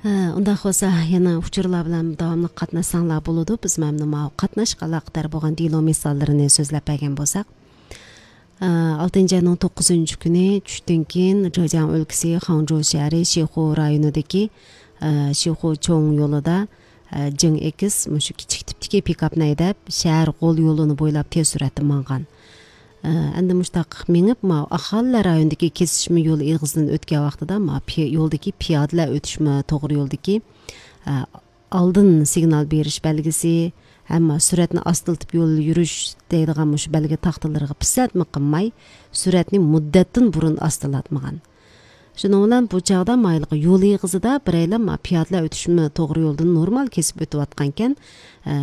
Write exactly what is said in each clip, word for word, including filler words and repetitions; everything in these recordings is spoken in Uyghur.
ھە، ئۇنداق بولسا، يەنە ئۇچۇرلار بىلەن داۋاملىق قاتناشساڭلار بولىدۇ. بىز مانا قاتناشقا ئالاقىدار بولغان دېلو مىساللىرىنى سۆزلەپ بەرگەن بولساق، ئالتىنچى ئاينىڭ توققۇزىنچى كۈنى چۈشتىن كېيىن، جېجياڭ ئۆلكىسى خاڭجۇ شەھىرى شىخۇ رايونىدىكى، ئە، شىخۇ چوڭ يولىدا، ئە، جېڭ ئېكس مۇشۇ كىچىك تىپتىكى پىكاپنى ھەيدەپ، شەھەر غول يولىنى بويلاپ تېز سۈرئەتتە ماڭغان. ئە، ئەمدى مۇشتاق مېڭىپ، ما ئاھالىلەر رايونىدىكى كېسىشمە يول ئېغىزىدىن ئۆتكەن ۋاقتىدا، ما پى-، يولدىكى پىيادىلەر ئۆتۈشمە توغرا يولدىكى، ئە، ئالدىن سىگنال بېرىش بەلگىسى، ھەممە سۈرئەتنى ئاستىلىتىپ يول يۈرۈش دەيدىغان مۇشۇ بەلگە تاختىلىرىغا پىسەنتمۇ قىلماي، سۈرئەتنى مۇددەتتىن بۇرۇن ئاستىلاتمىغان. شۇنىڭ بىلەن بۇ چاغدا مايلىقى يول ئېغىزىدا بىرەيلەن ما پىيادىلەر ئۆتۈشمە توغرا يولدىن نورمال كېسىپ ئۆتۈۋاتقانكەن، ئە،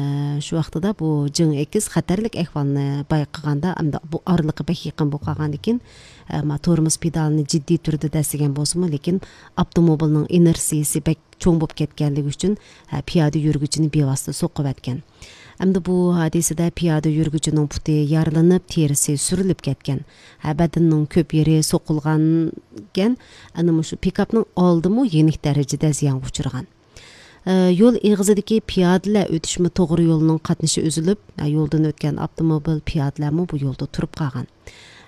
شۇ ۋاقتىدا بۇ جېڭ ئېكس خەتەرلىك ئەھۋالنى بايقىغاندا، ئەمدى بۇ ئارىلىقى بەك يېقىن بولۇپ قالغاندىكىن، ئە، ما تورمۇز پېدالىنى جىددىي تۈردە دەسسىگەن بولسىمۇ، لېكىن ئاپتوموبىلنىڭ ئىنېرتسىيىسى بەك چوڭ بولۇپ كەتكەنلىكى ئۈچۈن، ھە، پىيادە يۈرگۈچىنى بىۋاسىتە سوقۇۋەتكەن. ئەمدى بۇ ھادىسىدە پىيادە يۈرگۈچىنىڭ پۇتى يارىلىنىپ، تېرىسى سۈرۈلۈپ كەتكەن. ھە، بەدىنىنىڭ كۆپ يېرى سوقۇلغانكەن، ئەنە مۇشۇ پىكاپنىڭ ئالدىمۇ يېنىك دەرىجىدە زىيانغا ئۇچرىغان. ئە، يول ئېغىزىدىكى پىيادىلەر ئۆتۈشمە توغرا يولىنىڭ قاتنىشى ئۈزۈلۈپ، ئە، يولدىن ئۆتكەن ئاپتوموبىل، پىيادىلەرمۇ بۇ يولدا تۇرۇپ قالغان.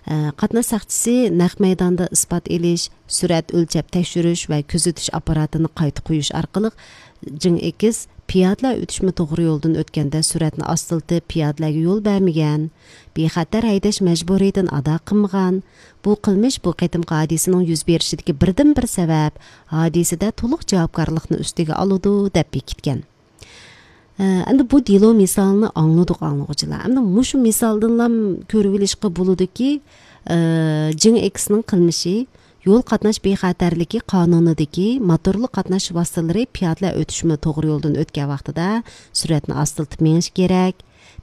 ئە، قاتناش ساقچىسى نەق مەيداندا ئىسپات ئېلىش، سۈرئەت ئۆلچەپ تەكشۈرۈش ۋە كۆزىتىش ئاپپاراتىنى قايتا قويۇش ئارقىلىق، جېڭ ئېكس پىيادىلەر ئۆتۈشمە توغرا يولدىن ئۆتكەندە سۈرئەتنى ئاستىلىتىپ، پىيادىلەرگە يول بەرمىگەن، بىخەتەر ھەيدەش مەجبۇرىيىتىنى ئادا قىلمىغان، بۇ قىلمىش بۇ قېتىمقى ھادىسىنىڭ يۈز بېرىشىدىكى بىردىنبىر سەۋەب، ھادىسىدە تولۇق جاۋابكارلىقنى ئۈستىگە ئالىدۇ، دەپ بېكىتكەن. ئە، ئەمدى بۇ دېلو مىسالىنى ئاڭلىدۇق، ئاڭلىغۇچىلار. ئەمدى مۇشۇ مىسالدىنلا كۆرۈۋېلىشقا بولىدۇكى، ئە، جېڭ ئېكسنىڭ قىلمىشى يول قاتناش بىخەتەرلىكى قانۇنىدىكى موتورلۇق قاتناش ۋاسىتىلىرى پىيادىلەر ئۆتۈشمە توغرا يولدىن ئۆتكەن ۋاقتىدا سۈرئەتنى ئاستىلىتىپ مېڭىش كېرەك.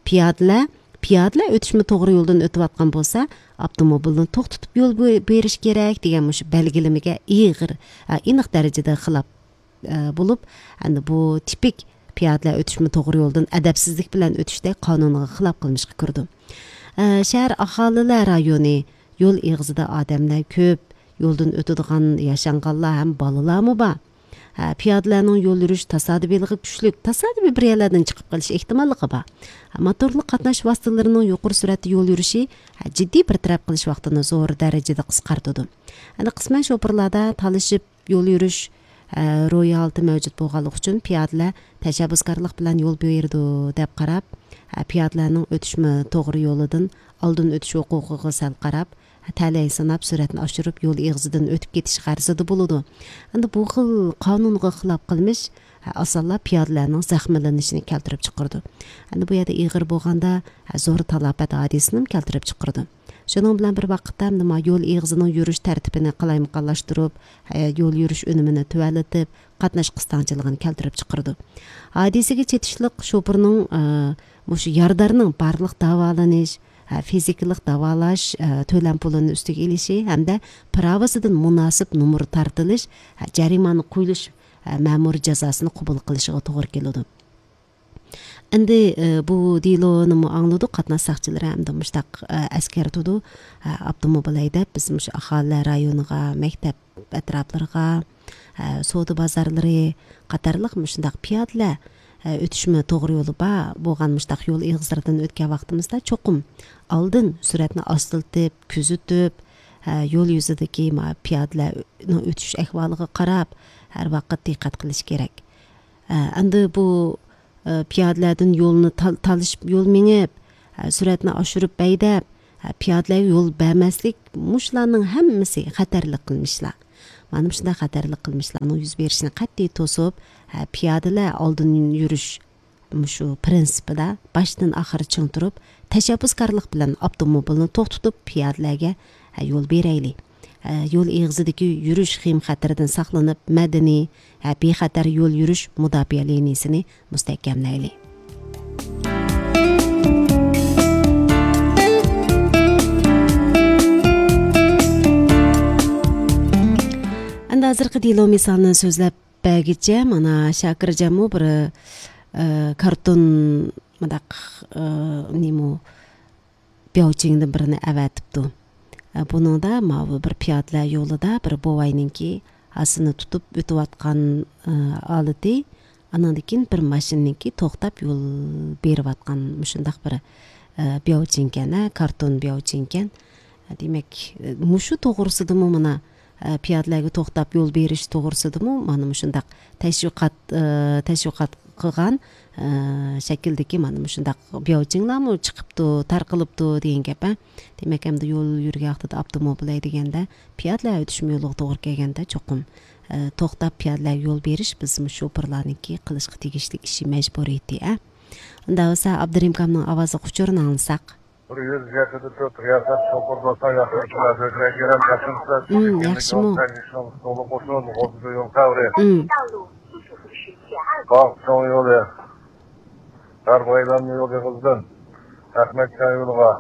پىيادىلەر، پىيادىلەر ئۆتۈشمە توغرا يولدىن ئۆتۈۋاتقان بولسا، ئاپتوموبىلنى توختىتىپ يول بو-، بېرىش كېرەك دېگەن مۇشۇ بەلگىلىمىگە ئېغىر، ئە، ئېنىق دەرىجىدە خىلاپ ئە، بولۇپ، ئەمدى بۇ تىپىك پىيادىلەر ئۆتۈشمە توغرا يولدىن ئەدەپسىزلىك بىلەن ئۆتۈشتەك قانۇنغا خىلاپ قىلمىشقا كىرىدۇ. ئە، شەھەر ئاھالىلەر رايونى، يول ئېغىزىدا ئادەملەر كۆپ، يولدىن ئۆتىدىغان ياشانغانلار ھەم بالىلارمۇ بار. ھە، پىيادىلەرنىڭ يول يۈرۈش تاسادىپىيلىقى كۈچلۈك، تاسادىپىي بىر يەرلەردىن چىقىپ قېلىش ئېھتىماللىقى بار. ھە، موتورلۇق قاتناش ۋاسىتىلىرىنىڭ يۇقىرى سۈرئەتتە يول يۈرۈشى، ھە، جىددىي بىر تەرەپ قىلىش ۋاقتىنى زور دەرىجىدە قىسقارتىدۇ. ئەنە قىسمەن شوپۇرلاردا تالىشىپ يول يۈرۈش، ئە، روھىي ھالىتى مەۋجۇت بولغانلىقى ئۈچۈن پىيادىلەر تەشەببۇسكارلىق بىلەن يول بېرىدۇ دەپ قاراپ، ئە، پىيادىلەرنىڭ ئۆتۈشمە توغرا يولىدىن ئالدىن ئۆتۈش ھوقۇقىغا سەل قاراپ، تەلەي ساناپ سۈرئەتنى ئاشۇرۇپ يول ئېغىزىدىن ئۆتۈپ كېتىش غەرىزىدە بولىدۇ. ئەمدى بۇ خىل قانۇنغا خىلاپ قىلمىش، ئە، ئاسانلا پىيادىلەرنىڭ زەخىملىنىشىنى كەلتۈرۈپ چىقىرىدۇ. ئەمدى بۇ يەردە ئېغىر بولغاندا، ئە، زور تالاپەت ھادىسىنىمۇ كەلتۈرۈپ چىقىرىدۇ. شۇنىڭ بىلەن بىر ۋاقىتتا، نېمە، يول ئېغىزىنىڭ يۈرۈش تەرتىپىنى قالايمىقانلاشتۇرۇپ، ھە، يول يۈرۈش ئۈنۈمىنى تۆۋەنلىتىپ، قاتناش قىستاڭچىلىقىنى كەلتۈرۈپ چىقىرىدۇ. ھادىسىگە چېتىشلىق شوپۇرنىڭ، ئە، مۇشۇ يارىدارنىڭ بارلىق داۋالىنىش، ھە، فىزىكىلىق داۋالاش، ئە، تۆلەم پۇلىنى ئۈستىگە ئېلىشى ھەمدە پىراۋىسىدىن مۇناسىپ نومۇر تارتىلىش، ھە، جەرىمانە قويۇلۇش، ھە، مەمۇرىي جازاسىنى قوبۇل قىلىشىغا توغرا كېلىدۇ. ئەمدى، ئە، بۇ دېلونىمۇ ئاڭلىدۇق، قاتناش ساقچىلىرى ئەمدى مۇشتاق، ئە، ئەسكەرتىدۇ. ئە، ئاپتوموبىل ھەيدەپ، بىز مۇشۇ ئاھالىلەر رايونىغا، مەكتەپ ئەتراپلىرىغا، ئە، سودا بازارلىرى قاتارلىق مۇشۇنداق پىيادىلەر، ئە، ئۆتۈشمە توغرا يولى بار بولغان مۇشۇنداق يول ئېغىزلىرىدىن ئۆتكەن ۋاقتىمىزدا چوقۇم ئالدىن سۈرئەتنى ئاستىلىتىپ، كۆزىتىپ، ئە، يول يۈزىدىكى ما-، پىيادىلەرنىڭ ئۆتۈش ئەھۋالىغا قاراپ، ھەر ۋاقىت دىققەت قىلىش كېرەك. ئە، ئەمدى بۇ ئە، پىيادىلەردىن يولنى تال-، تالىشىپ يول مېڭىپ، ئە، سۈرئەتنى ئاشۇرۇپ ھەيدەپ، ئە، پىيادىلەرگە يول بەرمەسلىك، مۇشۇلارنىڭ ھەممىسى خەتەرلىك قىلمىشلار. مانا مۇشۇنداق خەتەرلىك قىلمىشلارنىڭ يۈز بېرىشىنى قەتئىي توسۇپ، ئە، پىيادىلەر ئالدىن يۈرۈش مۇشۇ پىرىنسىپىدا باشتىن ئاخىر چىڭ تۇرۇپ، تەشەببۇسكارلىق بىلەن ئاپتوموبىلنى توختىتىپ، پىيادىلەرگە، ئە، يول بېرەيلى. ئە، يول ئېغىزىدىكى يۈرۈش خېيىم خەتىرىدىن ساقلىنىپ، مەدەنىي، ئە، بىخەتەر يول يۈرۈش مۇداپىئە لىنىيىسىنى مۇستەھكەملەيلى. ئەمدى ھازىرقى دېلو مىسالىنى سۆزلەپ بەرگۈچە، مانا شاكىرجانمۇ بىر، ئە، كارتون مۇنداق، ئە، نېمە، بياۋچىڭدىن بىرنى ئەۋەتىپتۇ. ئە، بۇنىڭدا ماۋۇ بىر پىيادىلەر يولىدا بىر بوۋاينىڭكى ھاسىنى تۇتۇپ ئۆتۈۋاتقان، ئە، ھالىتى، ئانىڭدىن كېيىن بىر ماشىنىنىڭكى توختاپ يول بېرىۋاتقان مۇشۇنداق بىر، ئە، بياۋچىنكەن، ئە، كارتون بياۋچىنكەن. دېمەك، مۇشۇ توغرىسىدىمۇ مانا، ئە، پىيادىلەرگە توختاپ يول بېرىش توغرىسىدىمۇ مانا مۇشۇنداق تەشۋىقات، ئە، تەشۋىقات قىلغان، ئە، شەكىلدىكى مانا مۇشۇنداق بياۋچىڭلارمۇ چىقىپتۇ، تارقىلىپتۇ دېگەن گەپ، ئە. دېمەك، ئەمدى يول يۈرگەن ۋاقتىدا ئاپتوموبىل ھەيدىگەندە، پىيادىلەر ھەيدىشمۇ يولغا توغرا كەلگەندە چوقۇم، ئە، توختاپ پىيادىلەرگە يول بېرىش بىز مۇشۇ شوپۇرلارنىڭكى قىلىشقا تېگىشلىك ئىشى، مەجبۇرىيىتى، ئە. ئۇنداق بولسا ئابدۇرېھىم ئاكامنىڭ ئاۋازلىق ئۇچۇرىنى ئاڭلىساق. بىر يۈز يەتتە تۆت رىياسەت شوپۇر دوستلار ياخشى ئىشلار بۆكرەك يېرەم قېشىمسىز. ئۇم، ياخشىمۇ؟ يول سەۋرى. ئۇم. باغ چوڭ يولى. غەرب ئايلانما يولى ئېغىزدىن ئەخمەتكان يولىغا،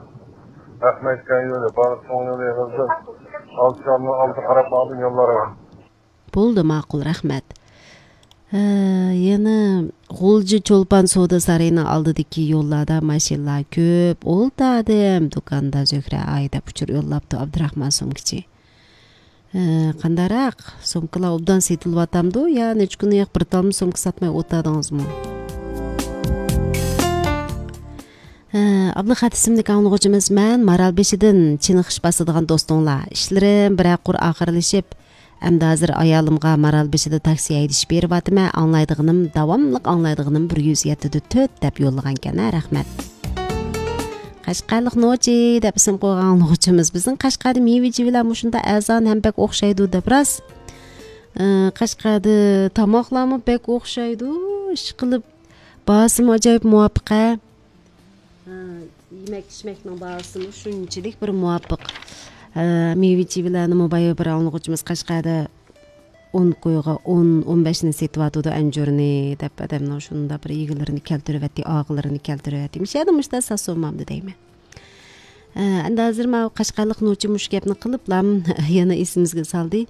ئەخمەتكان يولى، باغ چوڭ يولى ئېغىزدىن ئالتە شالنىڭ ئالدى قاراپ ماڭدىن يوللارغا. بولدى، ماقۇل، رەھمەت. ھە، يەنە غۇلجا چولپان سودا سارىيىنىڭ ئالدىدىكى يوللاردا ماشىنىلار كۆپ، ئولتۇردۇم، دۇكاندا زۆھرە ئاي دەپ ئۇچۇر يوللاپتۇ ئابدۇراخمان سومكىچى. ھە، قانداقراق؟ سومكىلار ئوبدان سېتىلىۋاتامدۇ يا نەچچە كۈندىن ياق بىر تالما سومكا ساتماي ئولتۇردىڭىزمۇ؟ ھە، ئابلىخەت ئىسىملىك ئاڭلىغۇچىمىز، مەن مارالبېشىدىن چېنىقىش باسىدىغان دوستۇڭلار. ئىشلىرىم بىرەر قۇر ئاخىرلىشىپ، ئەمدى ھازىر ئايالىمغا مارالبېشىدا تاكسى ھەيدىشىپ بېرىۋاتىمەن، ئاڭلايدىغىنىم، داۋاملىق ئاڭلايدىغىنىم بىر يۈز يەتتە دە تۆت دەپ يوللىغانكەن، ھە، رەھمەت. قەشقەرلىق نوچى دەپ ئىسىم قويغان ئاڭلىغۇچىمىز، بىزنىڭ قەشقەردە مېۋە-چېۋىلەر مۇشۇنداق ئەرزان ھەم بەك ئوخشايدۇ دەپ راست. ئى، قەشقەردە تاماقلارمۇ بەك ئوخشايدۇ، ئىشقىلىپ باھاسىمۇ ئاجايىپ مۇۋاپىق، ھە. ھە، يېمەك-ئىچمەكنىڭ باھاسىمۇ شۇنچىلىك بىر مۇۋاپىق. ھە، مېۋە-چېۋىلەرنىمۇ بايا بىر ئاڭلىغۇچىمىز قەشقەردە ئون كويغا ئون، ئون بەشنى سېتىۋاتىدۇ ئەنجۈرنى دەپ، ئادەمنىڭ شۇنداق بىر ئىگىلىرىنى كەلتۈرۈۋەتتى، ئاغىلىرىنى كەلتۈرۈۋەتتى. مۇشۇ يەردە مۇشۇنداق ساتسۇنمامدۇ دەيمەن. ئە، ئەمدى ھازىر ماۋۇ قەشقەرلىق نوچى مۇشۇ گەپنى قىلىپلا يەنە ئېسىمىزگە سالدى.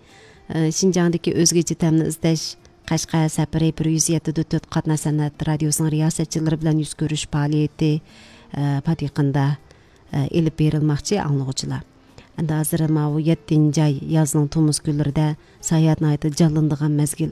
ئە، شىنجاڭدىكى ئۆزگىچە تەمنى ئىزدەش قەشقەر سەپىرى بىر يۈز يەتتە دە تۆت قاتناش سەنئەت رادىيوسىنىڭ رىياسەتچىلىرى بىلەن يۈز كۆرۈشۈش پائالىيىتى، ئە، پات يېقىندا، ئە، ئېلىپ بېرىلماقچى ئاڭلىغۇچىلار. ئەمدى ھازىر ماۋۇ يەتتىنچى ئاي يازنىڭ تومۇز كۈنلىرىدە ساياھەت ناھايىتى جانلىنىدىغان مەزگىل.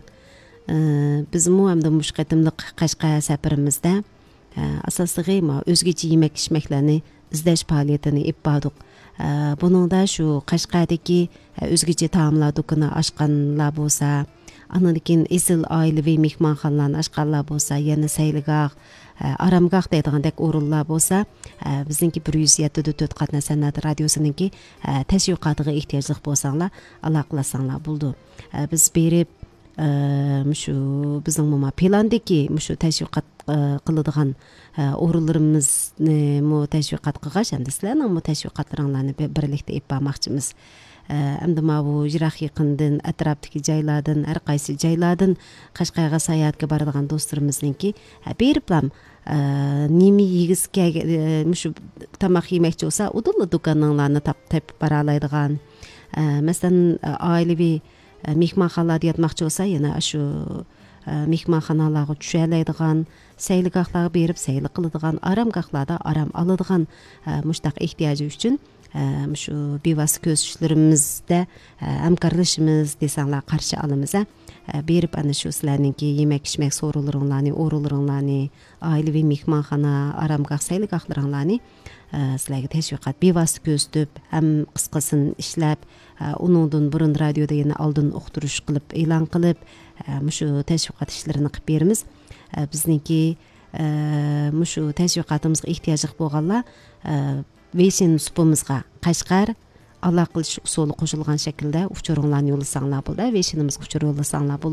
ئە، بىزمۇ ئەمدى مۇشۇ قېتىملىق قەشقەر سەپىرىمىزدە ئە، ئاساسلىقى ماۋۇ ئۆزگىچە يېمەك-ئىچمەكلەرنى ئىزدەش پائالىيىتىنى ئېلىپ باردۇق. ئە، بۇنىڭدا شۇ قەشقەردىكى، ئە، ئۆزگىچە تائاملار دۇكىنى ئاچقانلار بولسا، ئاندىن كېيىن ئېسىل ئائىلىۋى مېھمانخانىلارنى ئاچقانلار بولسا، يەنە سەيلىگاھ، ئە، ئارامگاھ دەيدىغاندەك ئورۇنلار بولسا، ئە، بىزنىڭكى بىر يۈز يەتتە دە تۆت قاتناش سەنئەت رادىيوسىنىڭكى، ئە، تەشۋىقاتىغا ئېھتىياجلىق بولساڭلار، ئالاقىلەشسەڭلار بولىدۇ. ئە، بىز بېرىپ، ئە، مۇشۇ بىزنىڭ مۇما پىلاندىكى مۇشۇ تەشۋىقات، ئە، قىلىدىغان، ئە، ئورۇنلىرىمىزنىمۇ تەشۋىقات قىلغاچ، ئەمدى سىلەرنىڭمۇ تەشۋىقاتلىرىڭلارنى بىر-، بىرلىكتە ئېلىپ بارماقچىمىز. ئە، ئەمدى ماۋۇ يىراق يېقىندىن، ئەتراپتىكى جايلاردىن، ھەر قايسى جايلاردىن قەشقەرگە ساياھەتكە بارىدىغان دوستلىرىمىزنىڭكى، ئە، بېرىپلام، ئە، نېمە يېگۈسى كەلگەن، ئە، مۇشۇ تاماق يېمەكچى بولسا، ئۇدۇللا دۇكانىڭلارنى تاپ-، تېپىپ بارالايدىغان. ئە، مەسىلەن، ئە، ئائىلىۋى ئە، مېھمانخانىلاردا ياتماقچى بولسا، يەنە ئاشۇ، ئە، مېھمانخانىلارغا چۈشەلەيدىغان، سەيلىگاھلارغا بېرىپ سەيلە قىلىدىغان، ئارامگاھلاردا ئارام ئالىدىغان، ئە، مۇشۇنداق ئېھتىياجى ئۈچۈن، ئە، مۇشۇ بىۋاسىتە كۆرسىتىشلىرىمىزدە، ئە، ھەمكارلىشىمىز دېسەڭلار قارشى ئالىمىز، ئە. ئە، بېرىپ ئەنە شۇ سىلەرنىڭكى يېمەك-ئىچمەك سورۇنلىرىڭلارنى، ئورۇنلىرىڭلارنى، ئائىلىۋى مېھمانخانا، ئارامگاھ، سەيلىگاھلىرىڭلارنى، ئە، سىلەرگە تەشۋىقات بىۋاسىتە كۆرسىتىپ، ھەم قىسقىسىنى ئىشلەپ، ئە، ئۇنىڭدىن بۇرۇن رادىيودا يەنە ئالدىن ئۇقتۇرۇش قىلىپ، ئېلان قىلىپ، ئە، مۇشۇ تەشۋىقات ئىشلىرىنى قىلىپ بېرىمىز. ئە، بىزنىڭكى، ئە، مۇشۇ تەشۋىقاتىمىزغا ئېھتىياجلىق بولغانلار، ئە، ۋېيشىن سۇپىمىزغا قەشقەر ئالاقىلىشىش ئۇسۇلى قوشۇلغان شەكىلدە ئۇچۇرۇڭلارنى يوللىساڭلار بولىدۇ. ۋېيشىنىمىزغا ئۇچۇر يوللىساڭلار بولىدۇ.